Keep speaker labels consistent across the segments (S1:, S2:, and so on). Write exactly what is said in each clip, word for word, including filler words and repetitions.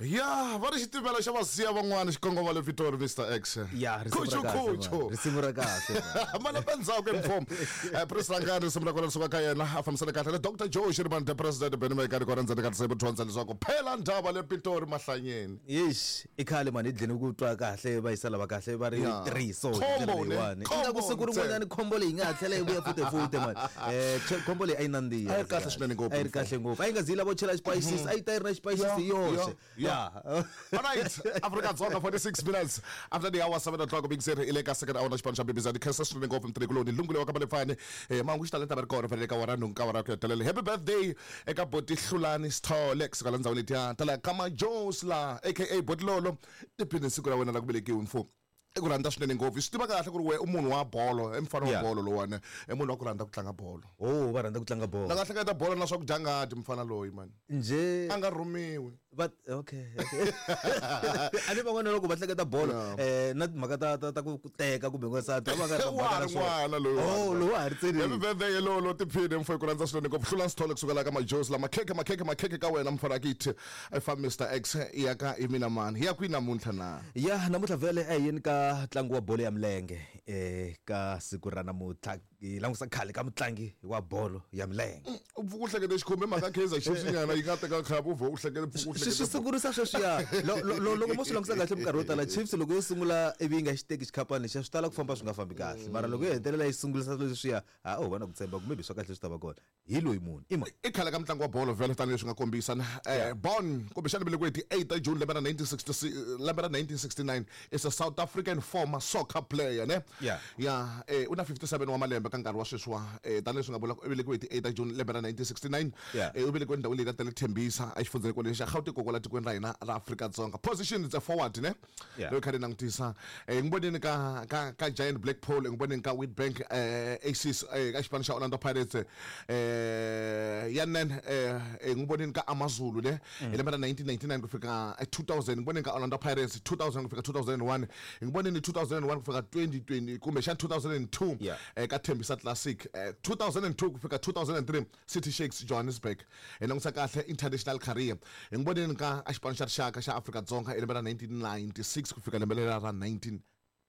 S1: Ya, va ri xitimela xa vasiya van'wana xikongomelo le Pitori Mister X.
S2: Ya, risimu ra kahle.
S1: Kuchu.
S2: Risimu ra kahle.
S1: Malembe ndzhaku inform. Eh Prince Rangani risimu ra kona risuka ka yena a fambisana kahle le Doctor Joe Shirimani the President Benny Mayekani kona ndzeni ka tinsimu dyondza leswaku phela ndhava le Pitori mahlanyeni.
S2: Yes, i khale mani hi dlini ku twa kahle va yisa lava kahle va ri three so
S1: Combo ne.
S2: Ingaku siku rin'wanyana khombo leyi nga ha tlhela yi vuya futhi futhi mani. Eh khombo leyi a yi nandziha.
S1: A yi kahle swinene ngopfu.
S2: A yi ri kahle ngopfu. A yi nga zi lavo chela spices, a yi ta yi ri na spices hi yoxe.
S1: Yeah. All right, Africa Dzonga forty-six minutes after the hour seven o'clock big zero ile ka second hour na xipano xa B B Z khensa swinene ngopfu mtirhikuloni lungule wa ka Malefani eh mangu xi talenta va ri kona fanele ka wara nhungu ka wara ku hetelela. Happy birthday eka Boti Hlulani Sithole kusuka la ndzhawini letiya ta la ka Majosi la aka Boti Lolo tiphini siku ra wena la ku velekiwa mfo. I ku rhandza swinene ngopfu swi tiva kahle ku ri we u munhu wa bolo i mfana wa bolo lowani i munhu wa ku rhandza ku tlanga bolo.
S2: Oh, va rhandza ku tlanga bolo.
S1: La nga hleketa bolo na swakudya ngati mfana loyi mani
S2: nje
S1: a nga rhumiwi.
S2: But okay, okay. A ni van'wana loko va hleketa bolo eh na timhaka ta ta ta ku teka kumbe n'wansati va nga ri
S1: na swona loyi.
S2: Oh, loyi wa ha ri tsini.
S1: Happy birthday lolo tiphini mfo ku rhandza swinene ngopfu Hlulani Sithole kusuka la ka Majosi la makhekhe makhekhe makhekhe ka wena mfana kithi i fa Mister X ya ka i mina mani ya kwini namuntlha na.
S2: Ya namuntlha vele a yini ka ntlangu wa bolo ya milenge eh ka siku ra namuntlha hi langusa khale ka mutlangi wa bolo ya milenge.
S1: U pfuka u hlekete xikhumbe mhaka Kaizer Chiefs nyana yi nga teka khapu u vho u hlekete pfuka u hlekete
S2: swi sungurisa sweswiya loko mo swi langusa kahle minkarhi yo tala Chiefs loko yo sungula ivi yi nga xi teki xikhapani lexiya swi tala ku famba swi nga fambi kahle mara loko yo hetelela yi sungurisa leswiya ha u va na ku tshemba ku maybe swa kahle swi ta va kona hi loyi munhu ima
S1: i khale ka mutlangi wa bolo vhele tanihileswi nga kombisa eh born kumbexana velekiwe hi ti eight ta June lembe ra nineteen sixty lembe ra nineteen sixty-nine is a South African former soccer player ne.
S2: Yeah.
S1: Ya eh una fifty-seven wa malembe ka nkarhi wa sweswiwa eh tanihileswi nga vula ku velekiwe hi ti eight ta June lembe ra nineteen sixty-nine eh u velekiwe ndhawu leyi ka tele Tembisa exifundzeni kwale xa Gauteng kokwala tikweni ra hina ra Afrika Dzonga. Position is a forward ne. Loyi kha ni langutisa eh ngiboneni ka ka ka Giant Blackpool ngiboneni ka Witbank eh Aces eh ka xipano xa Orlando Pirates eh yanen eh ngiboneni ka AmaZulu ne hi lembe ra nineteen ninety-nine ku fika two thousand ngiboneni ka Orlando Pirates two thousand ku fika two thousand one ngiboneni two thousand one ku fika twenty twenty kumbe xa two thousand two eh ka Tembisa Classic two thousand two ku fika two thousand three City Shakes Johannesburg hi langusa kahle international career ngiboneni ka xipano xa rixaka xa Afrika Dzonga hi lembe ra nineteen ninety-six ku fika lembe ra nineteen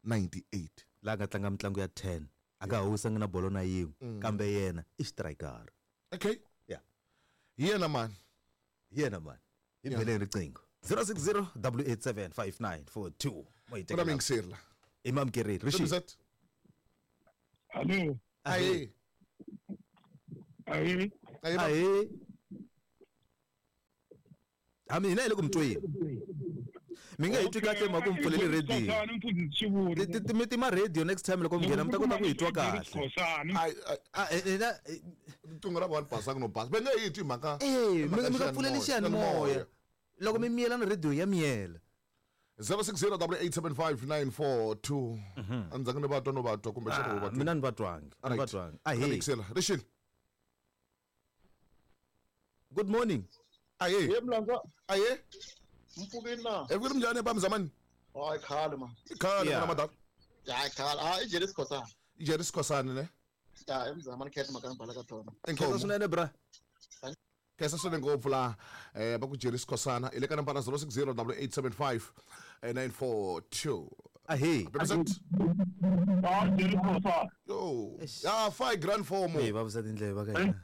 S1: ninety-eight
S2: la nga tlanga mitlangu ya ten a nga huwisangi na bolo na yin'we kambe yena i striker.
S1: Okay.
S2: Yeah.
S1: Yena man.
S2: Yena man. Hi beleni riqingho zero six zero double eight seven five nine four two.
S1: Mo mingisela.
S2: Imam Keriri. Rishi.
S3: Hello.
S1: Aye.
S3: Aye.
S2: Aye. Ami hina hi le ku mi tweni. Mi nga hi twi kahle mhaka mi pfuleli radio. Mi tima radio next time loko mi nghena mi ta kota ku hi twa kahle.
S1: Ah
S2: hina
S1: riqingho ra vona basanga no basa. Va nge hi twi mhaka.
S2: Eh mi nga pfuleli xiyanimoya. Loko mi miyela na radio ya miyela.
S1: zero six zero double eight seven five nine four two. Andzangi ni va twa no va twa kumbe xana va twa.
S2: Mina ni va twangi. Ni va twangi. Ahe.
S1: Rixile.
S2: Good morning.
S1: Aye.
S3: Ye mlanza.
S1: Aye.
S3: Mpfukeni na.
S1: Evukile mnjani ba mzamani?
S3: Hayi khale man.
S1: Khale mina madala.
S3: Ya khale. Ah i Jerry Sikhosana.
S1: I Jerry Sikhosana ne?
S3: Ya emzamani khetha makambala ka tona.
S2: Khetha swinene bra.
S1: Khetha swinene ngopfu la eh ba ku Jerry Sikhosana ile ka nambara zero six zero double eight seven five nine four two.
S2: Ahe.
S3: Ah Jerry Sikhosana.
S1: Yo. Ya five grand four mo.
S2: Eh va vusa tindleve va ka hina.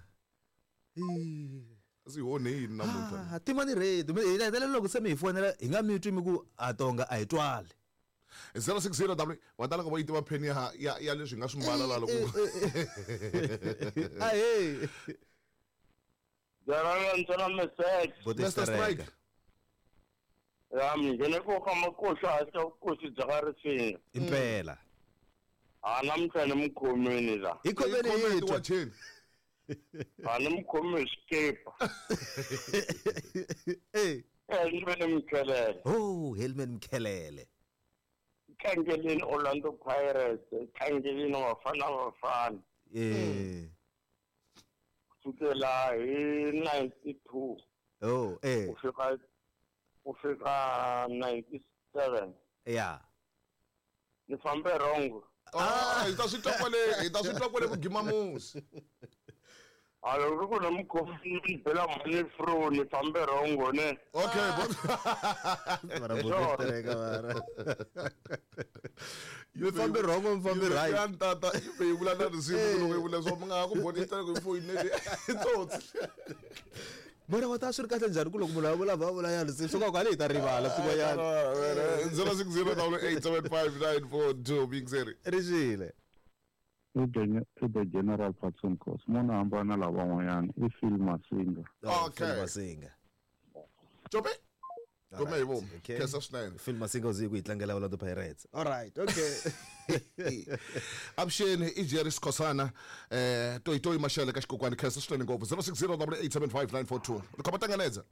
S2: Eh
S1: si hone yini namuntlha.
S2: Ah timani radio mi hina loko se mi hi fonela hi nga mi twi mi ku a tonga a hi twali.
S1: zero six zero W wa tala ku va yi tiva pheni ya ya ya leswi nga swi mbala la loko.
S2: Ahe.
S1: Mister Strike.
S3: Ya mi ngene ko ka makosa a kosi bya ka risinga.
S2: Impela.
S3: A namuntlha ni mi khomini la.
S2: Hi khomeni hi twa.
S3: A ni mi khomi hi xikipa.
S2: Eh.
S3: Helman Mkhelele.
S2: Oh, Helman Mkhelele.
S3: Tlangeleni Orlando Pirates, tlangeleni Bafana Bafana.
S2: Eh.
S3: Kusukela hi ninety-two.
S2: Oh, eh.
S3: Ku fika ku fika ninety-seven.
S2: Yeah.
S3: Ni fambe wrong.
S1: Ah, hi ta swi twa kwale, hi ta swi twa kwale ku gima musi.
S3: A loko ku na mukhomi ni bela mali fro ni fambe wrong ne.
S1: Okay, but
S2: mara botereka mara. You fambe wrong o fambe right.
S1: Tata i vula na risimu loko i vula swa mi nga ku bonita ku foyini le tsotsi.
S2: Mara wa ta swi ri kahle njhani ku loko munhu a vula va vula ya risimu swo ka hi ta rivala swin'wanyana.
S1: zero six zero eight seven five nine four two Big Zeri.
S2: Rixile.
S4: I the General Patson Course. Mona hambana lavan'wanyana i Phil Masinga.
S1: Okay.
S2: Phil Masinga.
S1: Jobe. Gome hi vomu. Khensa swinene.
S2: Phil Masinga u zi ku yi tlangela Orlando Pirates. All right, okay.
S1: Avuxeni i Jerry Skhosana eh Toyitoyi Mashele ka xikokwani khensa swinene ngopfu zero six zero eight seven five nine four two. Ri khoma tanganedza.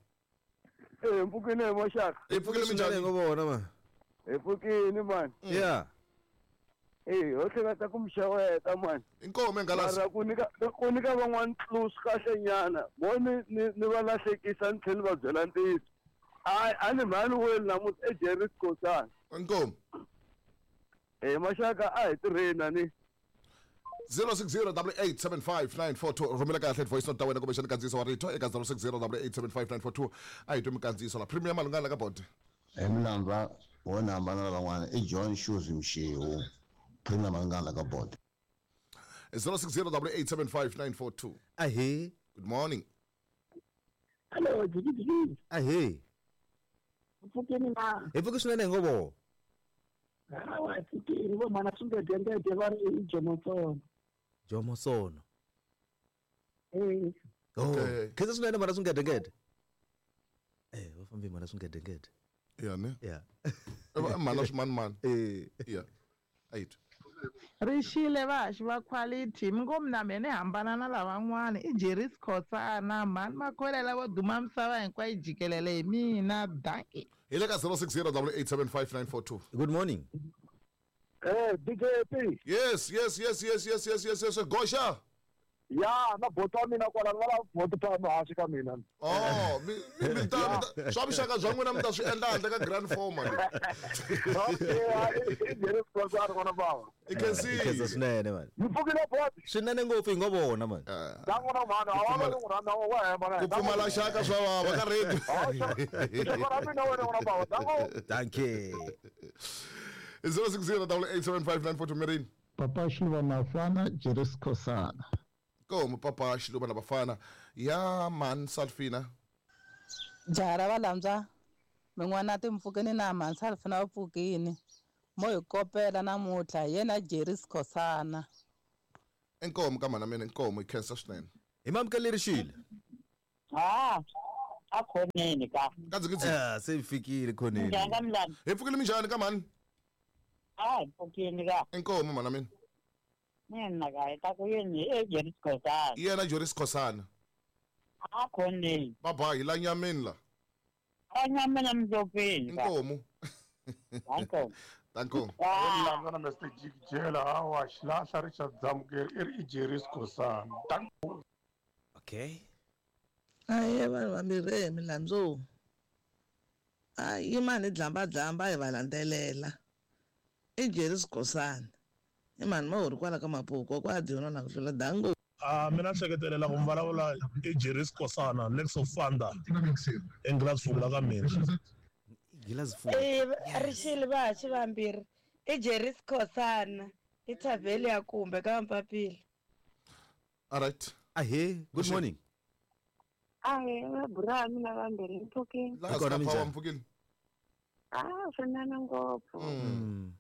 S5: Eh mpfukile maxaka.
S1: Hi pfukile minjhani
S2: ngo vona ma.
S5: Hi pfukile man.
S2: Yeah.
S5: Eh ho hleketa ku mixaweta man.
S1: Inkomo engalasi.
S5: Mara ku nyika ku nyika van'wana clues kahle nyana. Mo ni ni va lahlekisa ni tlhela va byela ntiyiso. Ai a ni mhani wena namuntlha i Jerry Skhosana.
S1: Inkomo.
S5: Eh maxaka a hi tirheni ni.
S1: zero six zero eight seven five nine four two rhumela kahle voice note ta wena kumbexana kandziyiso wa rito eka zero six zero eight seven five nine four two a hi twi mikandziyiso la Premier Malungana ka board.
S6: Hi milandza wona hambana na van'wana i John Shoes Mshiwu. Premier Malungana ka board.
S1: zero six zero eight seven five nine four two.
S2: Ahe.
S1: Good morning.
S7: Hello, jiki.
S2: Ahe.
S7: Pfukeni na.
S2: Hi pfuke swinene ngobo.
S7: Hawa pfukeni vo mana swi nga dyendede va ri i Jomo Sono.
S2: Jomo Sono.
S7: Eh.
S2: Oh. Khensa swinene mana swi nga dyendede. Eh, va fambi mana swi nga dyendede.
S1: Yeah, ne?
S2: Yeah.
S1: Mana swi man man.
S2: Eh.
S1: Yeah. Eight.
S8: Rixile vaxi va quality mi ngo mina me ni hambana na lavan'wana i Jerry Skhosana mhani makholela vo duma misava hinkwayo jikelele hi mina dankie.
S1: Hi le ka zero six zero eight seven five nine four two.
S2: Good morning.
S5: Eh D J P.
S1: Yes, yes, yes, yes, yes, yes, yes, yes. Gosha.
S5: Ya na bota mina kwala va la bota pa hansi ka mina.
S1: Oh, mi mi ta swa vuxaka bya n'wina mi ta swi endla handle ka grand four man.
S5: Okay, i Jerry Skhosana n'wana bava.
S1: I can see.
S2: Khensa swinene man.
S5: Mi pfukile bot.
S2: Swinene ngopfu hi ngo vona man.
S5: Da n'wana mhana a wa n'wana na wa hema.
S1: Ku pfumala xaka swa vava ka radio.
S5: Xaka ra mina wena n'wana bava. Dango.
S2: Dankie.
S1: zero six zero eight seven five nine four two Mirini.
S4: Papa Xiluva Mafana Jerry Skhosana.
S1: Komo papa Xiluva na Bafana ya man Salfina.
S8: Jaha ra valandzwa min'wana timpfukeni na mhani Salfina va pfukini mo hi kopela namuntlha hi yena Jerry Skhosana.
S1: Inkomo ka mhana mina inkomo hi khensa swinene.
S2: Hi mamukele Rixile.
S7: Ha a khoneni ka.
S1: Kadzikidzi.
S2: Ah, se fikile khoneni.
S7: Njhani ka mlani?
S1: Hi pfukile minjhani ka mhani?
S7: A hi pfukini ka.
S1: Inkomo mhana mina.
S7: Mina ka hi ta ku yini i Jerry Skhosana.
S1: Yena Jerry Skhosana.
S7: A khoneni.
S1: Baba hi la nyameni la.
S7: A nyameni mdopeni.
S1: Inkomo.
S7: Danko.
S1: Danko.
S9: Milandza na Mister Jikijela hawa xilahla Richard Zamukeri i ri i Jerry Skhosana. Danko.
S2: Okay.
S8: Aye vanhu vambirhi hi milandzu. A yimani dlamba dlamba hi va landzelela. I Jerry Skhosana. I mhani ma ri kwala ka Mapuku kwa dyona na ku tlula dango.
S10: Ah mina hleketelela ku vulavula i Jerry Skhosana Lex of Fanda. Englasfula ka mina.
S2: Gilazfula.
S11: Eh Rixile vaxi vambirhi i Jerry Skhosana i thavheli ya kumbe ka Mpapila.
S1: All right.
S2: Ahe, good morning.
S12: Ahe, mabura mina vambirhi mpfukile.
S1: La ka pa mpfukile.
S12: Ah, swinene ngopfu.
S1: Mm.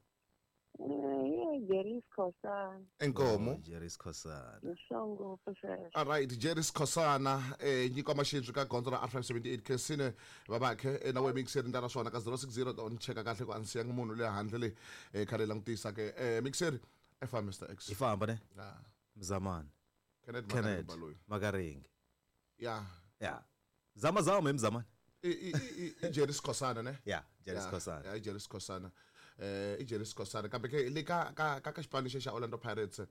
S12: Eh, Jerry Skhosana.
S1: Inkomo.
S2: Jerry Skhosana.
S12: Ngopfu sweswo.
S1: All right, Jerry Skhosana eh nyiko maxintswi ka gondzo ra R five seventy-eight Kensine babakhe na we mixer ndara swona ka zero six zero on cheka kahle ku ansiya munhu le handle le eh khale langutisa ke eh mixer F M Mister X.
S2: I famba ne?
S1: Ah.
S2: Mzamani.
S1: Kenneth
S2: Kenneth Makaringi.
S1: Yeah.
S2: Yeah. Zama zama emzamani.
S1: I i i Jerry Skhosana ne?
S2: Yeah, Jerry Skhosana.
S1: Yeah, Jerry Skhosana. Eh i Jerry Skhosana kambe ke le ka ka ka xipano xa Orlando Pirates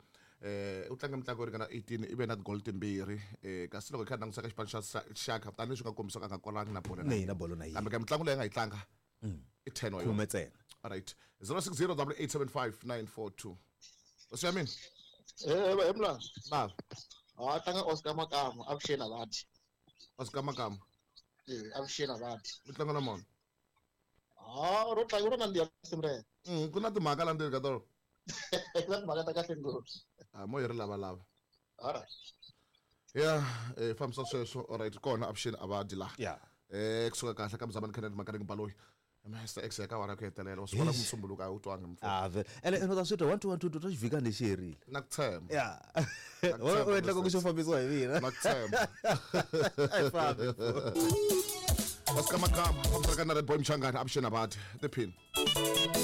S1: eh u tlanga mitlangu yo ringana eighteen i ve na goal timbirhi eh kasi loko hi kha langutisa ka xipano xa Shaka tani leswi nga kombisa ka nga kolangi na bolo
S2: na na bolo na
S1: kambe ka mitlangu leyi nga yi tlanga i ten wa
S2: khume ntsena.
S1: All right, zero six zero eight seven five nine four two. What's your name?
S5: Eh eh mla.
S1: Ba.
S13: A tlanga Oscar Makamu avuxeni avati.
S1: Oscar Makamu.
S13: Eh avuxeni avati.
S1: Mi tlanga na mona.
S13: Ah ro tlanga ro nandziha risimu rero.
S1: Mm ku na timhaka la ndzeni ka tona.
S13: Ku na timhaka ta kahle ngopfu.
S1: Ah mo hi ri lavalava.
S13: Alright.
S1: Yeah, eh fambisa sweswo alright kona avuxeni avadi la.
S2: Yeah.
S1: Eh kusuka kahle ka Mzamani Kennedy Makareng Baloyi. Mister X ya ka wara ku hetelela u swi vona musumbuluko a wu twangi mfo.
S2: Ah vele. Ene ene ta swi twa one two one two two xivhika lexi herile.
S1: Na ku tshemba.
S2: Yeah. U endla ku xo fambisiwa hi mina.
S1: Na ku tshemba.
S2: Ai fambi.
S1: Oscar Makamu, fambisa ka na Red Boy Mchangana avuxeni avadi. Tiphini.